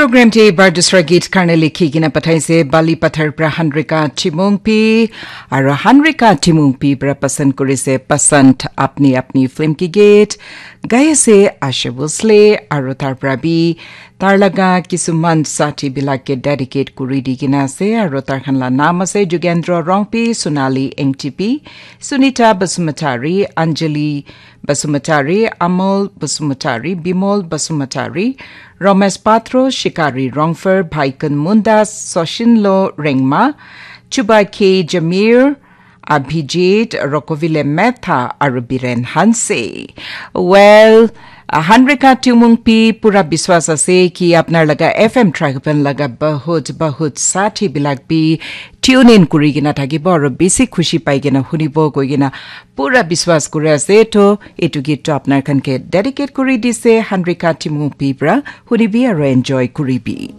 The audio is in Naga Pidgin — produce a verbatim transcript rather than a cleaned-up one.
Program te bar dusra geet karne likhi kena pathaise Bali Pathar pra Hanrika Timungpi, aro Hanrika Timungpi pra pasand kurise Pasand Apni Apni film ki geet. Gai ase Asha Bhosle, aro tar pra bi tar laga kisuman sathi bilak ke dedicate kuri di kena ase, aro tar khan la naam ase Jugendra Rongpi, Sonali Engtipi, Sunita Basumatari, Anjali Basumatari, Amol Basumatari, Bimol Basumatari, Ramesh Patro, Shikari Rongfer, Bhaikun Mundas, Soshinlo Rengma, Chuba K Jamir, Abhijit, Rokovile Metha, aru Biren Hanse. Well, Hanrika Timungpi pura biswas ase ki apnar laga F M Tragapan laga bahut bahut sathi bilak bi tune in kuri kena thakibo aru bisi khushi pai kena hunibo koi kena pura biswas kuri ase. To etu geet to apnar khan ke dedicate kuri dise Hanrika Timungpi pra, hunibi aru enjoy kuribi.